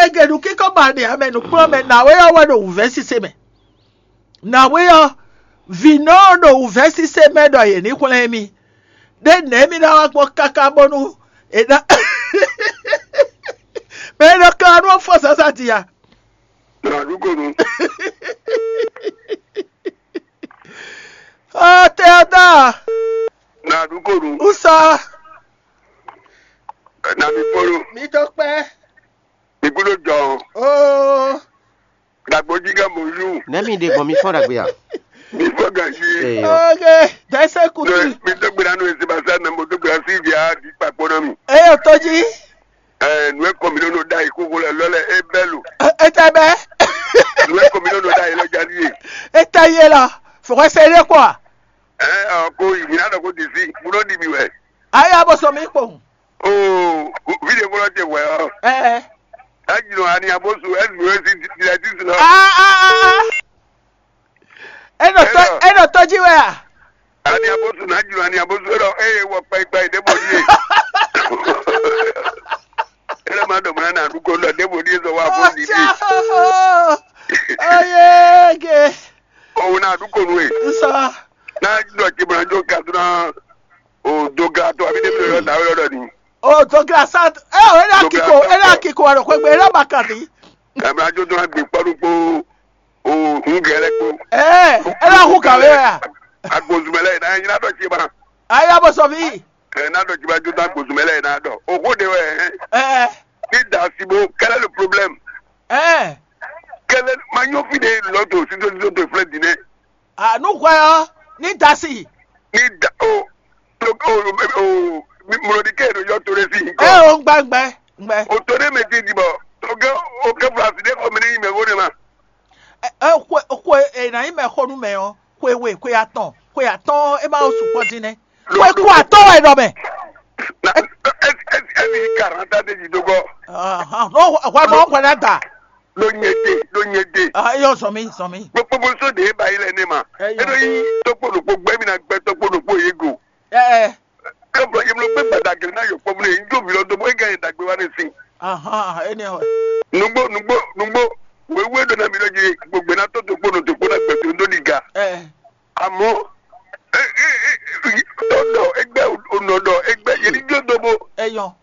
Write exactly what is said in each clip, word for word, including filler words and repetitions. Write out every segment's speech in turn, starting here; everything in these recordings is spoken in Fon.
Ege ɖu kíkɔ ba ɖe ame nukplɔ́nmɛ nǎwe ɔ́ wɛ ɖo wǔvɛ́ sise mɛ. Nǎwe ɔ́, vǐ nɔ ɖo wǔvɛ́ sise mɛ ɖɔ yě ní xwlɛ́n mì. Ɖé nɛ̌ mì ná wá gbɔn káká bónú è ná mɛ e nɔ kan nú ɔ́ fɔ zǎnzǎn din a? Nǎ ɖu konu. Ɔ Teodor, Nǎ ɖu konu. Usa, Nǎ mi kpolo. Mi tó kpɛ́. Mi kúló jɔ. Oo. Dagboji ka bonjour. Nɛ̌ mi ɖe gbɔn mi fɔ́n ɖagbe a? Mi fɔ ganji. Ee. Ok, dɛsɛ kutu. Mi dó gbe ɖa nú Sebastien, mo dó gbe ɖa sí ìdí a di kpakpó ná mi. Eyɔ tó jí. Ɛ nu e kɔ mi nɔ ɖa yi kókó lɛ lɔ lɛ e bɛ lo. Etɛ bɛ. Nu e kɔ mi nɔ ɖa yi lɔ jali ye. Etɛ ye lɔ. Fɔkɔ se ɖe kɔ. Ɛ ɔ ko yi mi na dɔ ko di si, mo nɔ di mi wɛ. Aya bɔ sɔ mi kpɔn. Oo, fide fɔlɔ tɛ wɛ ɔ. Ɛ. Ɛ jino ani abosu ɛ nu e si di ɛ ti si lɔ. Aa aa aa. Enɔ tɔ enɔ tɔji wɛ a? Ani abosu na jlo ani abosu ɖɔ eye wɔ kpɛkpɛ ɖe bɔ ɖie. Ele ma ɖɔ mɔ na nugo ɖɔ ɖe bɔ ɖie zɔ wa fɔ ɖi ɖi. Oyege. Owu na nugo nu e. Nsɔ. Na ɖɔ tsi bɔ na jo ka duna o doga to abi ɖe mi ɖɔ da wɛ ɖɔ ni. O doga sa ɛ o ena kiko ena kiko wa ɖo xwegbe ena ba kan di. Ablajo duna gbe kpɔɖu kpo. O hun gɛlɛ kpo. Ɛɛ, e la hu kawé wɛ a? Agbozumɛ lɛ na nyina dɔ tsi ma. Aya bɔ sɔvi. Ɛ na dɔ tsi ma jo na agbozumɛ lɛ na dɔ. O ko de wɛ. Ɛɛ. Ni da si bo, quel est le problème? Ɛɛ. Quel est ma nyɔ fi de lɔ to si to si to flɛ di nɛ. A nu hwɛ ɔ, ni da si. Ni da o o o o mlɔdi ke no yɔ to de si. Ɛ o ngbɛ ngbɛ ngbɛ. O to de mɛ ti di bɔ. O ke o ke fla si de ko mi ni mɛ ko ne ma. Ɛ, ɛ, xwe xwe e na nyí mɛ xo nú mɛ ɔ́, xwe we, xwe atɔn, xwe atɔn ɔ́, é ma wo sukpɔ́ dín nɛ́. Xwe kú atɔ́ wɛ ɖɔ mɛ. Na ɛ ɛ ɛ ɛ mi karanta de di dogɔ. Ahan, no hwa ma hwa na da. Lo nye de, lo nye de. Ah, eyɔ zɔn mi, zɔn mi. Gbogbo so de ba yi lɛ ne ma. Eyɔ. E do yi tɔkpo ɖokpo gbɛ mi na gbɛ tɔkpo ɖokpo ye go. Ɛ ɛ. Ke vɔ yemlɔ gbe gbadagre na yɔ kpɔmlɛ yi jo mi lɔ do bo e ga yi dagbe wa ne si. Ahan, ene hɔ. Nugbo nugbo nugbo. Wewe ɖo na mi ɖɔ dzi gbogbe na tɔ dokpo nɔ dokpo na gbɛtɔ ndo ɖi ga. Ɛ. Amɔ e e e tɔ ɖɔ egbɛ o nɔ ɖɔ egbɛ yeli jo do bo. Eyɔ.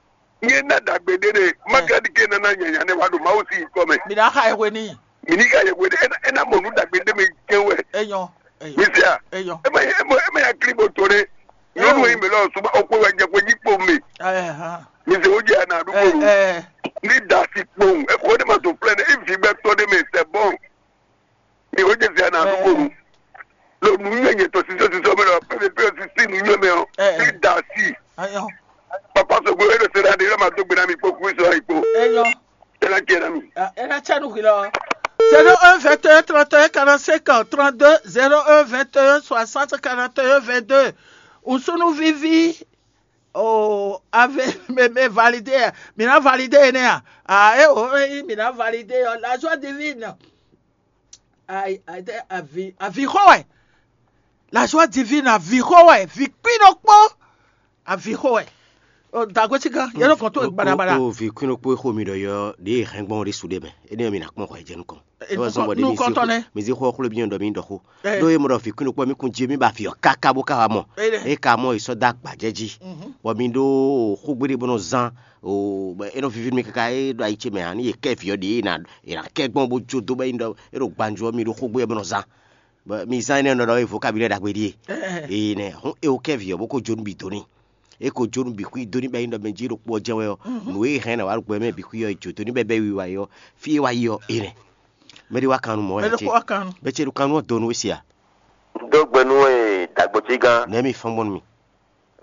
Nye na dagbe ɖe ɖe ma ka ɖi ke nana nyanya ne wa ɖo Mawu si kɔ mɛ. Mi na xa ewé ni. Mi ni ka yɛ wele ena ena mɔ nu dagbe ɖe mɛ jɛ wɛ. Eyɔ. Eyɔ. Mi se a? Eyɔ. Ema ema ema ya kli bo to ɖe. Nyɔnu yi mi lɔ suba okwe wa jɛ kwe yi kpo mi. Ɛhã. Mi se o jɛ na du ko. Ɛ. Ni da si kpo. E ko de ma to plɛ ne e vi bɛ tɔ de mɛ c'est bon. Mi o jɛ se na du ko. Lo nu nyɛ nyɛ tɔ sisɔ sisɔ mi lɔ pɛ pɛ sisi nu nyɛ mɛ o. Ni da si. Eyɔ. Papa sogbo e ɖo se ɖa ɖe e ma do gbe na mi kpo kú sɔ yi kpo. Eyɔ. E na jɛ na mi. Ah, e na cɛ nu hwi lɔ. Zéro un vingt et un trente et un quarante-cinq trente-deux, zéro un vingt et un soixante quarante et un vingt-deux. Usunu vivi. Oh, ave me me validé. Mi na validé ne a. Ah, eh oh, eh, mi na validé. Oh, la joie divine. Ai ai te avi avi xɔ wɛ. La joie divine avi xɔ wɛ. Vi kpi ɖokpo. Avi xo wɛ. O dagbe ti gan yɛlɛ kɔn to gbadabada. O vi kún ɖokpó xo mi ɖɔ yɔ ɖe hɛn gbɔn ɖe su ɖe mɛ. Ene mi na kpɔn xɔ jɛ nukɔn. E wɔ zɔn bɔ ɖe mi zi xɔ xlo bi nyɔ ɖɔ mi ɖɔ xo. Ɖo ye mɔ ɖɔ vi kún ɖokpó mi kun jí mi ba fi ɔ kaka bó ka wa mɔ. E ka mɔ yi sɔ da gbajɛ ji. Bɔ mi ɖo xogbe ɖe bɔ nɔ zan o e nɔ vivi mi kaka e ɖo ayi ce mɛ ani ye kɛ vi ɔ ɖe e na e na kɛ gbɔn bó jo do bɛ yi ɖɔ e ɖo gbanjo mi ɖo xogbe bɔ nɔ zan. Bɔ mi zán énɛ́ nɔ ɖɔ é vocabulaire ɖagbe ɖíe. Ee nɛ hɔn é wó kɛ vǐ ɔ́ bó ko jó nú bǐ dó n'i. É ko jó nú bǐ xwí dó ní bɔ é nyí ɖɔ mɛ jí ɖokpó ɔ́ jɛ́n wɛ ɔ́, nǔ e hɛn ná wá ɖo gbɛ mɛ bǐ xwí ɔ́, è jó dó ní bɔ é bɛ́ wiwa é ɔ́, fí e wá yi ɔ́, é nɛ́. Mɛ ɖé wá kan nú mɔ̌ wɛ Mɛ ɖé ce. Kó wá kan nú. Bɛ́ ce ɖo kan nú ɔ́ dó nú we se a? Un dó gbe nú we dǎgbócí gán. Nɛ̌ mi fɔ́n gbɔn nú mi?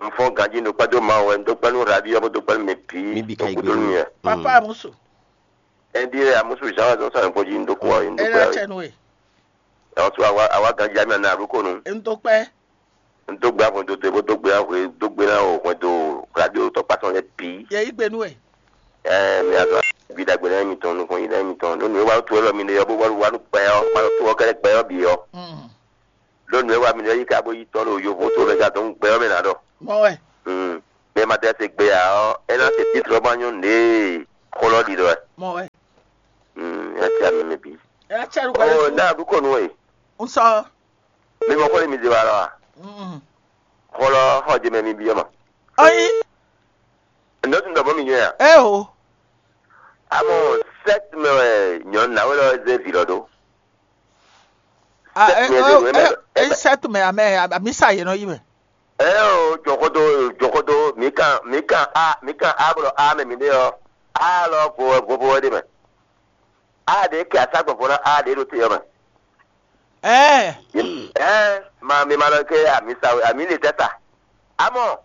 Un fɔ́n ganjí un ɖo kpɛ́ dó Mawu wɛ, un dó kpɛ́ nú Rabi ɔ́, bó dó kpɛ́ nú mɛ bǐ. Mi bǐ ka yi gbe nú mi. Papa Amusu. Ɛn ɖíe Amusu Zǎn wɛ zɔ́n sɔn nukpó jí un dó kú ɔ́, un dó Ela kpɛ́ wɛ. Cɛ nú we. Ɛ ɔ́ sú àwa àwa ganjí amí anɔ aɖúkò nu. Un dó kpɛ́. Un dó gbe ahwɛndo towe bó dó gbe ahwe dó gbe ná o hwɛndo radio tɔkpá tɔn lɛ́ɛ bǐ. Yɛ yí gbe nú we. Ɛɛ mi azɔ gbi ɖagbe lɛ́ɛ mitɔn nukɔn yi lɛ́ɛ mitɔn nú nǔ e wa tó wɛ lɔ mi ɖe ɔ́ bó wá wá nú gbɛ ɔ́ ma tó ɔ́ kɛ́ɖɛ́ gbɛ ɔ́ bǐ ɔ́. Mm. Ɖó nǔ e wa mi ɖe ɔ́ yi ka bó yi tɔ́ ɖo yovo tó mɛ ka dɔn gbɛ ɔ́ mɛ ná ɖɔ. Mɔ wɛ. Mm. Mɛ ma tɛ se gbe ǎ ɔ́, é ná se títlɔ ma nyɔ́ nǔɖé xó lɔ ɖi ɖɔ wɛ. Mɔ wɛ. Mm, ya ti ami mi bi. Ela cɛ ɖo gbɛ. Oh, na du ko nu e. Un sɔ. Mi mo ko le mi di wa lɔ a? Mm. Xɔ lɔ xɔ je mɛ mi bi ma. Ayi. Nɔ tun dɔ bɔ mi nyɔ ya. E o. Amo, sept mɛ wɛ nyɔ na we lɔ ze vi lɔ do. Ah, eh, Sept mɛ eh, de we mɛ. Eh, eh, sept mɛ amɛ amisa yɛ nɔ yi mɛ. Ɛ o, jɔxɔdo, jɔxɔdo, mi kan mi kan a mi kan a bɔ a mɛ mi ɖe ɔ, a lɔ vo vo vo ɖe mɛ. A ɖe kɛ asa gbɔgbɔ na a ɖe ɖo te ɔ mɛ. Ɛɛ. Ɛ ma mi ma lɔ ke ami sa ami le tɛ sa. Amɔ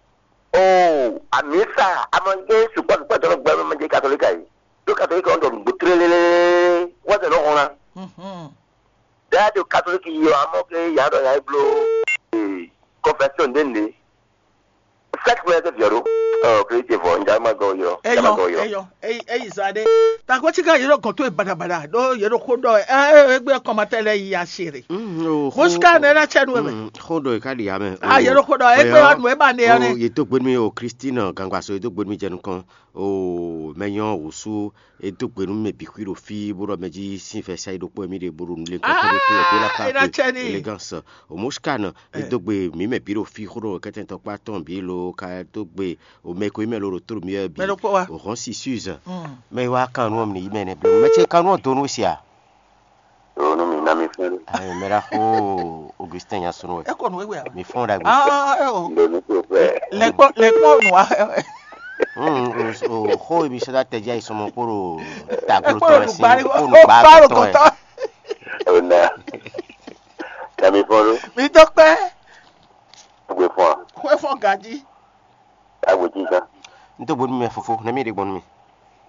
o ami sa amɔ ke sukpɔ sukpɔ tɔ gbɛ mɛ je katolika yi. Do katolika ɔn dɔ nugbo tlelelele wɔsɛ lɔ hɔn na. Mhm. Dá ɖo katoliki yi ɔ amɔ ke ya ɖɔ ya yi blo confession ɖe nde. Sɛk mɛ ke viɔ ɖo ɔ kiri ce vɔ nja ma gɔ yɔ nja ma Eyɔn, gɔ yɔ. Eyɔn, eyi eyi zɔ aɖe. Takɔtsika yero gɔn to e badabaɖa ɖo yero xo ɖɔ ɛ ɛ egbe kɔmatɛ lɛ yi asiri. Mosika ne na tsɛ nu eme. Xo ɖɔ yi ka ɖi ya mɛ. Ah, yero xo ɖɔ egbe wa nu ema ne ya ne. Ye to gbenu mi o Christine Gangbaso ye to gbenu mi jɛ nukɔn o mɛ nyɔ wusu e dó gbe nú mɛ bǐ xwí ɖo fí bó ɖɔ mɛ jí sín vɛ̌ sa yi ɖokpó wɛ mì ɖe bó ɖo nulé kɔ́ kɔ́ ɖó tó wɛ dó lá ká Ah, é ná cɛ ní. Élégance. O Moscan, e dó gbe mǐ mɛ bǐ ɖo fí xó ɖo kɛ́tɛ́ntɔ́ kpá tɔn bǐ lo ka dó gbe o mɛ ko yi mɛ lo ɖo tló mì wɛ bǐ. Mɛ ɖokpó wa. O hɔn si suze. Mm. Mɛ yi wá kan nú ɔmì ní yi mɛ nɛ bló. Mɛ ce kan nú ɔ do nú sia. Ɖo nú mi ná mi fún ɖé. Ayi, mɛ ɖaxó Augustin Nyasunu wɛ. Eko nu ewe awe. Mi fún ɖagbe. Ah, eh, oh. Ɖo nú tó fɛ. Lɛkpɔ lɛkpɔ nu wa. Hmm, o o xó ebi sɔdá tɛdí ayi sɔmɔ kpó ɖo taglo Ekpɔ tɔn nu sin gbari kpó nu gbá gbá tɔn. Tɔn. Ona. Kami fɔn ɖo. Mi dó kpɛ. Gbé fún a. Xwé fɔn gaji. Agbo jí gán. N tó gbónú mi fofó, nɛ mi ɖe gbɔn nú mi.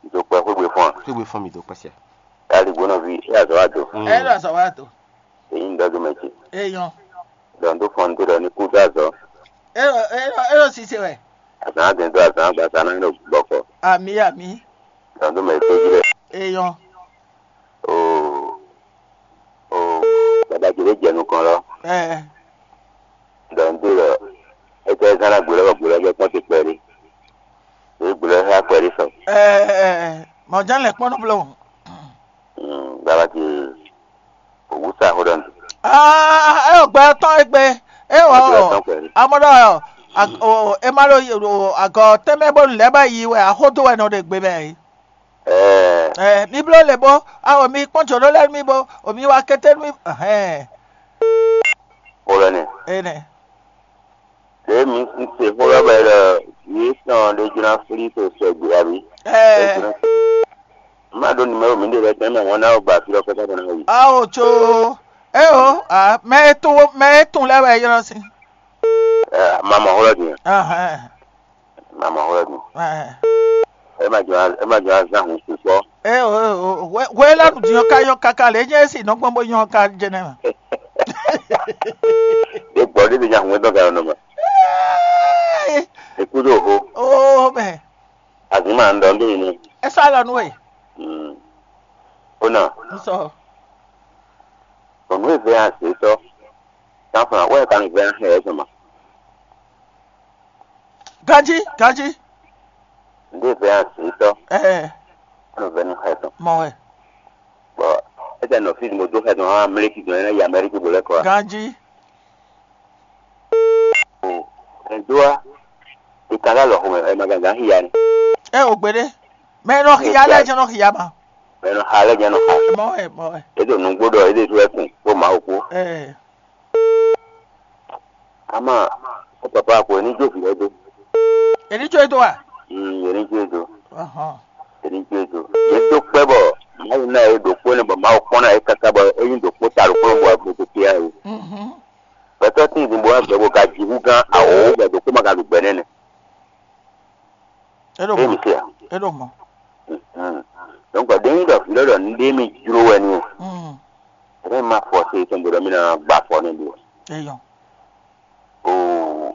N tó kpɛ xwé gbé fún a. Xwé gbé fún mi dó kpɛ sia. Kali gbóná vi, é azɔ wa do. Hmm. Ɛ lɔ azɔ wa do. Èyí ń dɔdún mɛ ce. Eyɔn. Dɔn tó fɔn tó dɔ ní kú dó azɔ. Elo elo elo sise wɛ. Azɔ á dɛn tó azɔ á gba sa náà ní bɔkɔ. Ami ami. Dɔn tó mɛ tó jí lɛ. Eyɔn. Oo. Oo. Bàbá jòló jẹ nukɔn lɔ. Ɛ. Dɔn tó lɔ. Ete zan na gbolo bɔ gbolo bɛ kpɔn ti kpɛ di. Ní gbolo xá kpɛ di sɔ. Ɛ ɛ mɔjá lɛ kpɔn nɔ blɔ. Bàbá ti. Òwú sa xó ɖɔ nù. Ah, ɛ o gbɛ tɔn egbe. E wɔ Gbɛ tɔn kpɛ di. Amɔdɔ ɔ ag- o e ma ɖo yi- o agɔ tɛmɛ bónú lɛ́ bá yi wɛ axódó wɛ nɔ ɖe gbe mɛ. Ɛɛ. Ɛ mi bló le bó awo mi kpɔn jǒ ɖó lɛ́ mi bó o mi wá kété mi. Ɛhɛn. Xó lɔ nɛ. Enɛ. Ɖě mi un se xó lɔ bɔ é ɖɔ yě tɔn ɖé jló ná flí to sɛgbě abǐ? Ɛɛ. Má ɖó numero mi ɖe lɛ́ɛ tɛ́nmɛ wɔn ná wɔ gba fí lɔ kpɛ́ kpɛ́ ná yi. Awo tso eo a mɛ e tún mɛ e tún lɛ́ wɛ ylɔ́ sín. Ɛ má mɔ xó lɔ din. Ahɛn. Má mɔ xó lɔ din. Ahɛn. É má jɔ é má jɔ azán hun sukpɔ́. Eo eo hwe hwe lɛ́ nu din ɔ́ ka nyɔ́ káká lě nyɛ e si nɔ gbɔn bó nyɔ́ ká jɛnɛ mɛ. Ɖé gbɔ ɖé ɖé nya hun dɔn gayɔ nɔ mɛ. Ekú ɖo ho. Oo mɛ. Azima ń dɔn dé inú. Ẹ sọ àlọ nú ẹ. Ó nà. N sọ. Ònú ìfẹ́ àṣetọ́. Táfọ̀nà wọ́n ẹ̀ka nìfẹ́ àṣẹ ẹ̀ sọ̀mà. Ganji ganji. Ǹdé ìfẹ́ àṣetọ́. Ẹ Wọ́n fẹ́ ní xɛ tán. Mọ ẹ. Bɔn ete nɔ fi mo do xɛ tɔn hã amleki gbɔn ɛnɛ yi amɛriki bo lɛ kɔ wa. Ganji. O ɛn do wa. Ika la lɔ xɔmɛ ɛ ma gangan hi ya ni. Ɛ o gbede. Mɛ nɔ xia lɛ jɛ nɔ xia ma. Mɛ nɔ xa lɛ jɛ nɔ xa. Mɔ ɛ mɔ ɛ. Edo nugbo dɔ ede so ɛkun kó ma o kó. Ɛ. Ama, ó papa ko ní jó vǐ lɛ́ɛ dó. Èní jó e dó a? Mm, yě ní jó e dó. Ahàn. Yě ní jó e dó. Yě tó kpɛ́ bɔ Mawu ná yě ɖokpó nɛ bɔ Mawu kpɔ́n ná yě káká bɔ é nyí ɖokpó ta ɖokpó bɔ agbo tó kíá yě. Mhm. Gbɛtɔ́ tín din bó wá gbɛ bó ka ji hú gán awǒ bɔ ɖokpó ma ka ɖu gbɛ nɛ́nɛ. É ɖo Ɖé mɔ. Mi se a? É ɖo mɔ. Mhm. Donc ɖé nyí ɖɔ vǐ lɔ ɖɔ nǔɖé mi jló wɛ ni o. Mm. Ɛnɛ ma fɔ se tɔn bó ɖɔ mi ná gba fɔ nɛ ɖo. Eyɔn. O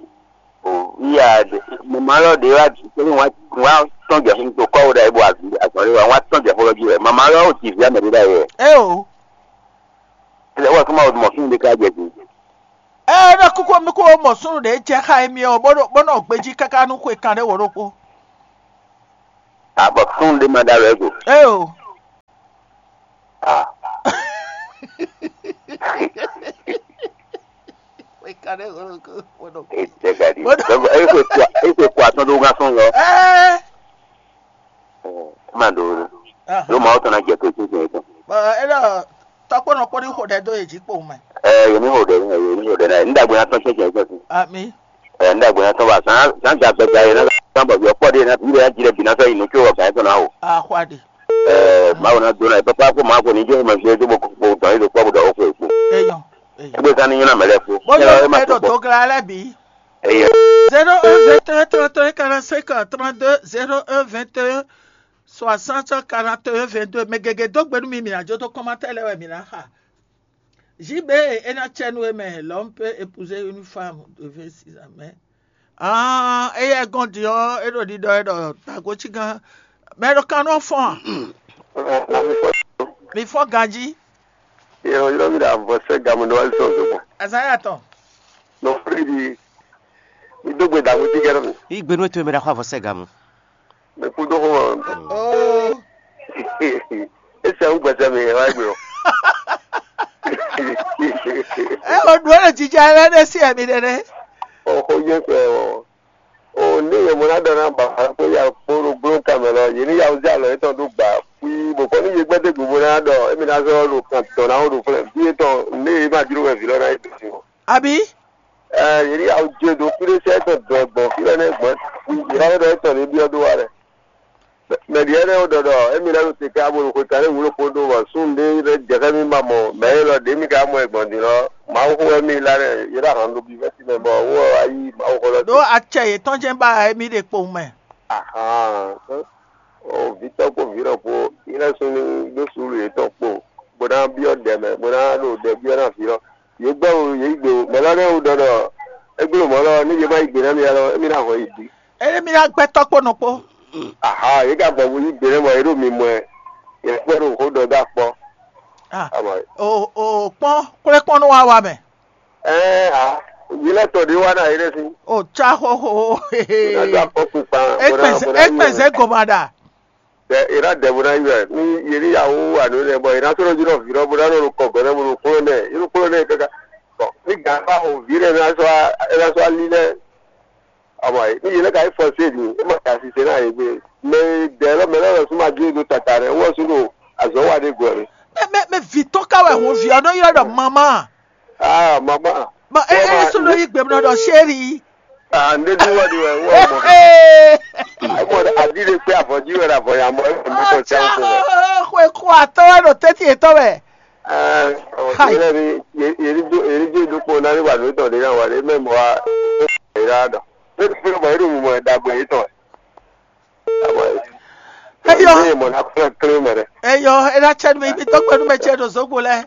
o iya mama lɔ ɖe wa kele wa wa tɔn jɛ fún to kɔ wo ɖe bo azɔn ɖe wa wa tɔn jɛ fún lɔ ji wɛ mama lɔ o ti vi amɛ ɖe ɖe wɛ. Eo. Ele wa kuma o mɔ fún ɖe ka jɛ fún. Eo ɖe kuku mi ko mɔ sunu ɖe jɛ xa emi o bó ɖo bó nɔ gbeji kaka nú xwe kan ɖe wo ɖokpo. Abɔ fún ɖe ma ɖa wɛ go. Eo. Ete gadi. Bɔn ese kɔ ese kɔ atɔn ɖó gán sɔn lɔ. Ɛɛ. Ema ɖo. Ɖo mawo tɔn na jɛ to tun tun tun. Bɔn e ɖɔ tɔkpɔnɔ kpɔn ní xo ɖɛ dó yě jí kpowun mɛ. Ɛɛ, yě ní xo ɖɛ, yě ní xo ɖɛ na yě. Ní ɖagbe na tɔn tɛn tɛn tɛn. Ami. Ɛɛ, ní ɖagbe na tɔn ba zan zan da gbɛda yě na zan bɔ yɔ kpɔ ɖe na bi ɖe na ji ɖe bi na sɔ yi nu tso wɔ gǎn tɔn na o. Axwa ɖe. Ɛɛ, mawo na do na yě papa ko mawo ko ní jɛ ma gbé dó bo ko dɔn yě ɖo kpɔ bo ɖɔ o ko e kpo. Eyɔn. Eyɔn. Egbe zan ní nyɔ́ na mɛ lɛ kpo. Bó yɔ ɛ ɖo dogla lɛ bǐ. Eyɔn. Zéro un vingt et un trente et un quarante-cinq trente-deux, zéro un vingt et un soixante quarante et un vingt-deux. Mɛ gěgé dó gbe nú mi, mi ná jó dó kɔ́mátɛ́ lɛ́ɛ wɛ mi ná xa. Zi bé e é ná cɛ nú we mɛ, l'homme peut épouser une femme de vingt-six ans, mais ah, éyɛ́ gɔ́n din ɔ́, é ɖo ɖiɖɔ é ɖɔ tagocí gán. Mɛ ɖo kan nɔ fɔ́n a? Mi fɔ́n ganjí. Yɔyɔ́ mi ɖo avɔ sɛ́ gamu ɖo wá zɔn zɔn. Azaya tɔn. Nɔ fúri di. Mi dó gbe dàgbé tí kẹ́ nɔ mi. Yí gbe nú ètò mi ɖaxɔ avɔ sɛ́ gamu. Mi kú dó xó mɔ. Oh. Ese ń gbẹ̀sẹ̀ mi wá gbé o. Ɛ o ɖu ɛ jija lɛ ɖe si ɛmi ɖe ɖe. O xó yẹ kpɛ o. O ní yẹ mo ná dɔ ná ba kó ya kpó ɖo gbló kan mɛ lɔ yě ní ya wúzɛ alɔ yětɔn ɖó gbà. Kpí bò kɔ ní yé gbɛdé gbogbo ná dɔ émi ná zɔ ɖo kan dɔ ná wó ɖo flɛ bí yétɔn ní yé má jló wɛ vǐ lɔ ná yé dó sin o. Àbí? Ɛ yě ní ya wú jé ɖo kúɖé sɛ tɔn dɔ gbɔn fí lɔ nɛ gbɔn. Yě ná yé ɖɔ étɔn ní byɔ́ dó wa lɛ. Mɛ ɖi ɛnɛ wo ɖɔɖɔ émi lɛ́ɛ ɖo te ká bó ɖo xweta ɖé wǔ ɖokpó ɖó bɔ súnnu ɖé lɛ́ɛ jɛ xá mì ma mɔ mɛ élɔ́ ɖě mì ka mɔ ɛ gbɔn din lɔ Mawu xó wɛ mì lá nɛ yě ɖo ahan ɖo bivɛ́ sin mɛ bɔ wó wɛ wá yí Mawu xó lɔ. Ɖó acɛ yětɔn jɛ́n ba émí ɖe kpowun mɛ. Ahan. O vǐtɔ́ kpó vǐɖɔ kpó yi lɛ́ súnnu ɖó suúlu yětɔn kpo bó ná byɔ́ ɖɛ mɛ bó ná ɖo ɖɛ byɔ́ ná vǐ lɔ. Yě gbɛ́ wú yě yí gbe wú mɛ lɔ nɛ́ wú ɖɔ ɖɔ é gbló mɔ̌ lɔ ní yě má yí gbe ná mi lɔ émí ná hɔn yi bǐ. Eye mi ná gbɛtɔ́ kpó nɔ kpó. Aha, yě ka gbɔ bó yí gbe nɛ́ bɔ yě ɖo mi mɔ ɛ. Yě kpɛ́ ɖo xó ɖɔ dó akpɔ. Ah, Amɔ o o kpɔn kplé kpɔn nú wa wa mɛ. Ɛɛ a yě lɛ tɔ ɖé wá ná yě ɖe sí. O tsa xóxó. Yě ná dó akpɔ kpikpan. Ekpɛzɛ ekpɛzɛ gɔmaɖa. Bɛ yě ná dɛ bó ná yi wɛ ní yě ní yàwó wà nú nɛ bɔ yě ná sɔ́ jí nɔ vǐ lɔ bó ná nɔ kɔ gɔ̌ nɛ bó nɔ kplɔ́n nɛ yě nɔ kplɔ́n nɛ káká. Bɔn ní gǎn bá xo vǐ lɛ ná sɔ́ ná sɔ́ alí lɛ. Àmọ́ ní yě lɛ ka yí fɔ sé din é ma ka sise ná yě gbé. Mɛ dɛ lɔ mɛ lɔ lɔ sún ma dó do tata rɛ wɔ sún ɖo azɔ̌ wa ɖé gɔ́ rɛ. Mɛ mɛ mɛ vǐ tɔn ka wɛ hun vǐ ɔ́ nɔ ylɔ́ ɖɔ mamá. Ah, mama. Bɔn é é sún ló yí gbemlɔ ɖɔ séri. Ah, ndé dúró wá di wɛ wɔ mɔ. Ee. Mɔ adi de kpé avɔji wɛ avɔ ya mɔ ɛ mɔ tɔ tsa ko wɛ. Xwe kó atɔ wɛ ɖo tɛti yetɔ wɛ. Ah, Hai. Yɛrɛ ni yeri jo yeri jo do kpɔ nani wa do tɔ de na wa de mɛ mɔ wa. Era dɔ. Ne fi mɔ eɖo mɔ dagbe yetɔ. Eyɔ. Eyɔ, ena tsɛ nu mi mi tɔgbe nu mɛ tsɛ ɖo zogbo lɛ.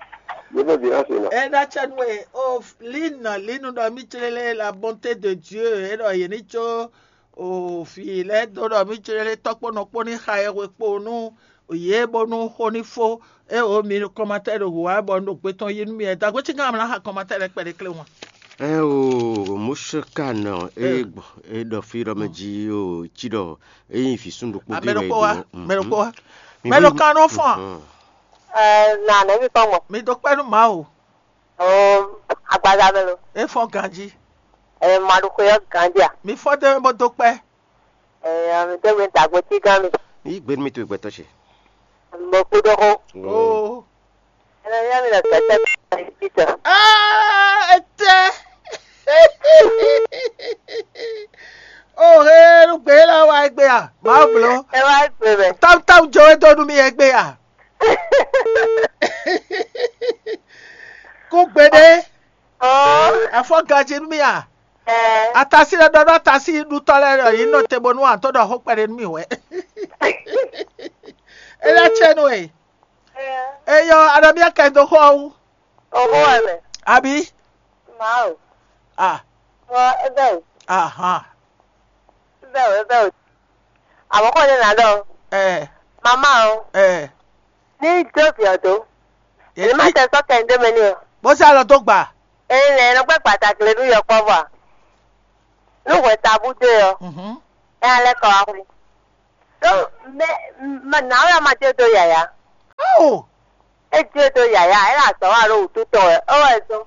Ena tsɛ nu e o lina linu ɖɔ mi tsere lɛ la bonté de Dieu e ɖɔ yě ní tso o fi lɛ do ɖɔ mi tsere lɛ tɔkpɔ nɔkpɔ ní xa yɛ hwe kpo nú yě bónú xó ní fó. E o mi kɔmatɛ ɖo hu wa bɔ un ɖo gbe tɔn yi nú mi ɛ dagbe tsi gán amla xa kɔmatɛ lɛ kpɛɖe klé wọn. Ɛ o mosika nɔ e gbɔ e ɖɔ fi ɖɔ mɛ dzi o tsi ɖɔ e yin fi sun ɖokpo. Amɛ ɖokpo wa mɛ ɖokpo wa mɛ ɖo kan nɔ fɔn. Na nɛvi kpɔn gbɔn. Mi do kpɛ nu ma o. O agbaza mɛ lo. E fɔn ganji. Ɛ ma ɖo xwe yɔ ganji a. Mi fɔ de bɔ do kpɛ. Ɛ mi de gbe dagbo ti gan mi. Yi gbe mi to gbɛtɔ ce. Mo kú dó xó. Oo. Ɛ yɛ mi le gbɛtɛ mi ti tɔ. Aa etɛ. O he nu gbe la wa egbe a. Ma blo. Ɛ wa egbe mɛ. Tam tam jo e do nu mi egbe a. Kú gbe ɖe. Ɔɔ. Afɔ gaji nú mì a? Ɛɛ. Atasi lɛ ɖɔ ɖɔ atasi ɖutɔ lɛ ɖɔ yě nɔ te bónú atɔ ɖɔ xó kpɛɖé nú mì wɛ. Ele atsɛ nú e. Ɛɛ. Eyɔ aɖɔ mía kɛ dó xɔ wú. Oxó wɛ mɛ. Abi. Mawu. A. Wɔ ebe o. Ahan. Ebe o ebe o. Àmọ́ kò ní nàdọ́. Ɛ. Màmá o. Ɛ. Ní jókè ọ̀dọ́. Èmi má tẹ sọ́kẹ̀ ń dé mi ní o. Bó sá lọ tó gbà. Èyí lẹ̀ ẹ̀rọ pẹ́ pàtàkì lè ní yọkọ́ bọ̀. Ní ìwé tabú dé ọ. Mhm. Ẹ alẹ́ kọ̀ wá kú. Tó mẹ mẹ nàá wíwá máa dé do yàyà. Ó. É dé do yàyà ẹ̀ là sọ wà ló wù tó tọ̀ ẹ̀ ó wẹ̀ tó.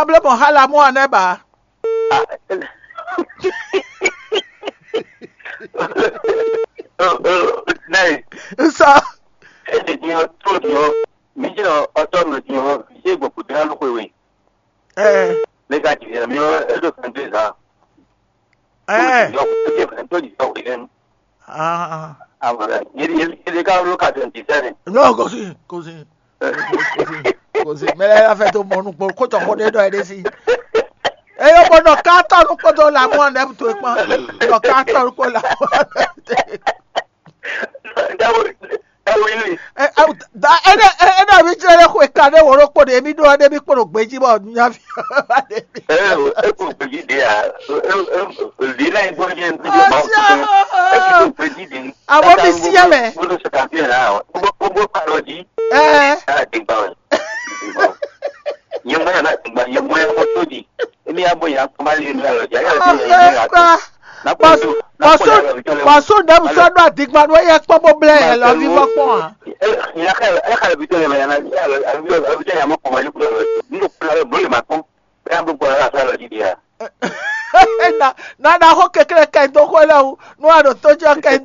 ma bló mɔ xá lamɔ ɔ́ nɛ́ ba. Nɛɛ, Nsɔ. Ede din ɔ, tó din ɔ, mi jɛ ɔtɔ nɔ din ɔ, mi jɛ gbɔkú din ɔ lóko we. Ɛ Ne ka jigin mi ɔ, eɖo fɛn de zan. ɛ Eɖo fɛn de zan we lɛnu. ah Amara, yeli yeli yeli ka wolo ka twenty seven. No, kò sí, kò sí, kò sí, kò sí. Mɛ lɛ la fɛ tó mɔ nukpɔ kó tɔ kó ɖe dɔ yɛ ɖe sí. Eye bɔ nɔ katɔ nukpɔ tó la mɔ nɛ tó kpɔn. Nɔ katɔ nukpɔ la mɔ nɛ. Dawo, dawo yeli. Ɛ ɛ da ɛ dɛ ɛ dɛ mi tsɛ lɛ xwe ka ɖe wòló kpo ɖe mi ɖo ɛ ɖe mi kpo ɖo gbeji bɔ nya fi. Ɛ, eko gbeji de a. Li la igbɔ jɛ ndu jɛ ma o. Eko gbeji de. Àwọn mi sí ẹ mɛ. Gbogbo sọta fi la o. Gbogbo gbogbo palọ di. Ɛ Ala ti gba o. Nyɛmɔ yà náà ti gba, nyɛmɔ yà kó tó di. Èmi yà bọ yà kó má lè nù alọ jà yà ti yà yà tó. Ɔkpa. Pɔsu pɔsu dɛm sɔ ɖo adigbanu eye kpɔ bó blɛ yɛ lɔ vi vɔ kpɔn a. Ẹ ẹ ẹ xalẹ bi tó yẹ mẹ yà náà alọ alọ bi tó yà mọ kọmọ yìí kúrò lọ. N kò kúrò lọ bó lè má kún. Bẹ́ẹ̀ bó gbọ́dọ̀ láti alọ di di yà. Na na na xɔ kekle kɛ do xɔ lɛ o nu a ɖo to jɔ kɛ